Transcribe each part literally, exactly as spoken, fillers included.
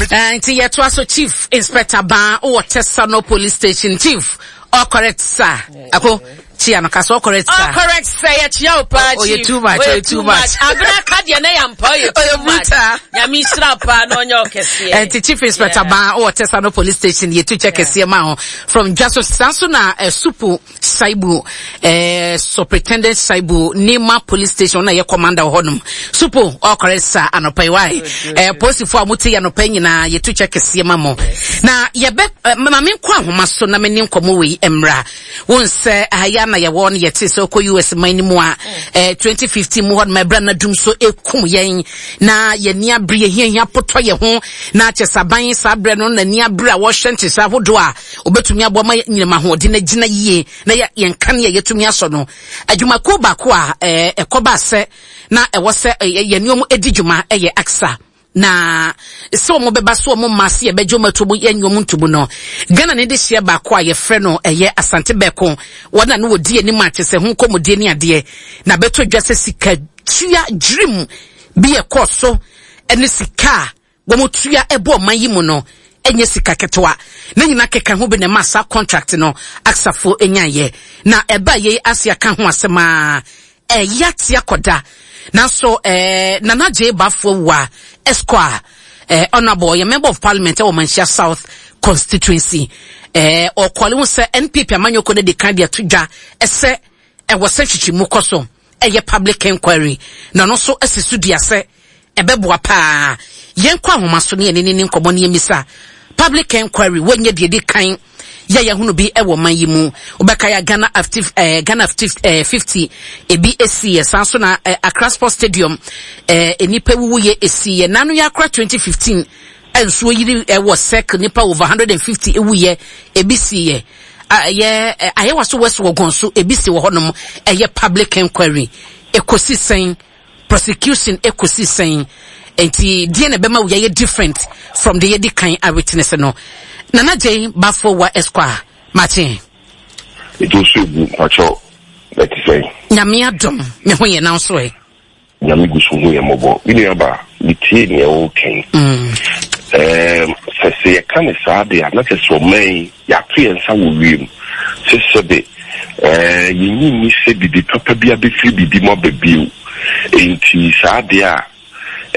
Uh, nti yɛtoa so. Chief Inspector Baa wɔ Tesano Police Station. Chief, all correct, sir. Ako chia no kasa, all correct, sir. All correct, sir. Yɛkyia wo paa. Oh, Chief. too much, ɔyɛ too much. Abena ka deɛ na yɛ mpa, ɔyɛ too much. Nyame nhyira paa na ɔnyɛ ɔkɛseɛ. Nti Chief Inspector Baa wɔ Tesano Police Station, yɛtu kyɛ kɛseɛ ma ho from Dwaso. Saa nso na uh, Supu Saibu, eh, Superintendent Saibu, Nima Police Station na yɛ commander wɔ hɔnom. Supu, all correct, sir. Anɔpa yi wae, eh, polisifoɔ a mote yɛ anɔpa yi nyinaa, yɛtu kyɛ kɛseɛ ma mo. Na yɛbɛ eh, ma menkɔ ahoma so na mene nkɔmmɔ wei mmra. Wo nsɛ ahaya na yɛwɔ no, yɛte sɛ wokɔ U S man no mu a, eh, twenty fifteen mu hɔ nom, ɛberɛ na dum so ɛkum yɛn na yɛni abere, yɛhiahia potɔ yɛ ho na kyɛ sɛ aban saa berɛ no n'ani abere a wɔhyɛ nhyehyɛ ahodoɔ a obɛtumi aboa ma nyinam ahoɔden no agyina yie na yɛ yɛn kanea yɛtumi asɔ no. Adwumakuo baako a ɛɛ ɛkɔba sɛ na ɛwɔ sɛ ɛyɛ yɛn nneɛma edi dwuma ɛyɛ AKSA, na sɛ wɔn bɛba so wɔn mma se yɛbɛgye wɔn ato mu, yɛn wɔn ntomu no, Ghana ne de hyɛ baako a yɛfrɛ no ɛyɛ Asante Bɛko, wɔn na no wɔdi anim a kyɛ sɛ ho nkɔmɔdie ne adeɛ na bɛtɔ dwa sɛ sika tua dwirim bi ɛkɔɔ so, ɛne sika a wɔn tua ɛbɔ ɔman yi mu no ɛnyɛ sika ketewa ne nyinaa keka ho bi na ɛma saa contract no aksafo nyaayɛ. Na ɛba yei ase aka ho asɛm a ɛyɛ ate akɔda, nanso ɛɛ Nana Gye Bafo Wa Esquire, ɛɛ Honourable, ɔyɛ Member of Parliament ɛwɔ Manhyia South Constituency, ɛɛ ɔkɔle ho sɛ N P P amanyɔkuo no de kan de ato dwa ɛsɛ ɛwɔ sɛ nhwehwɛmu kɔ so, ɛyɛ public inquiry, na ɔno nso asi so dua sɛ ɛbɛboa paa. Yɛnkɔ ahoma so ne yɛne ne ne nkɔmmɔ ne yɛmmisa public inquiry. Wɔnyɛ deɛ di kan yɛ yɛhono bi ɛwɔ man yi mu. Wobɛka yɛ Ghana active eh, Ghana active eh, fifty ebi esi yɛ san so na eh, Accra Sports Stadium eh, nipa wuwu yɛ esi yɛ nanu yɛ akora twenty fifteen nsuo yiri ɛwɔ Circle, nipa over hundred and fifty ewu yɛ ebi si yɛ ɛyɛ Ayawaso West Wuogon so ebi si wɔ hɔnom. Ɛyɛ public inquiry ekosi sɛn? Prosecution ekosi sɛn? Nti deɛ na ɛbɛma wo yɛyɛ different from the yɛdi kan a witness no? Nana Jane Bafo Wa Esquire, makye. Ètò nso egu mpakyɛw, ɛte sɛn? Nyame adom, me ho yɛ, nan so ɛ? Nyame gu so hu yɛ mmɔbɔ. Me nua ba, metie nea wɔrekɛn. Ɛɛm, sɛ sɛ yɛka ne saa de a, na kyerɛ sɛ ɔman yi yɛato yɛn nsa wɔ wiem sɛ sɛbe ɛɛ yɛnyi nni sɛ biribi papa bi abɛfiri biribi mu aba bio. Nti saa deɛ a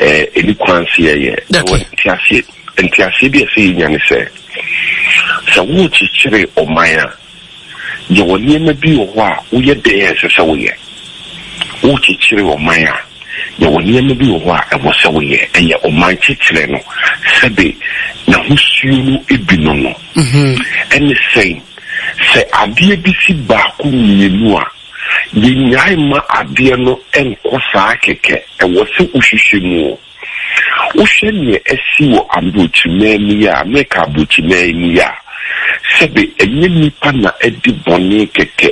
ɛɛ ɛni kwan sɛ yɛyɛ. Okay. Nteaseɛ nteaseɛ bi a ɛsɛ yɛnya ne sɛ sɛ worekyekyere ɔman a, yɛwɔ nneɛma bi wɔ hɔ a woyɛ dɛn a ɛsɛ sɛ woyɛ. Worekyekyere ɔman a, yɛwɔ nneɛma bi wɔ hɔ a ɛwɔ sɛ woyɛ. Ɛyɛ ɔman kyekyerɛ no sɛbe n'ahosuo no bi no no ɛne sɛn sɛ adeɛ bi si baako mmienu a, yɛnyae ma adeɛ no nkɔ saa kɛkɛ. Ɛwɔ sɛ wohwehwɛ mu o. Wohwɛ nea asi wɔ aburokyiman mu yi a, Amerika aburokyiman mu yi a, sɛbe ɛnyɛ nipa na ɛdi bɔne kɛkɛ.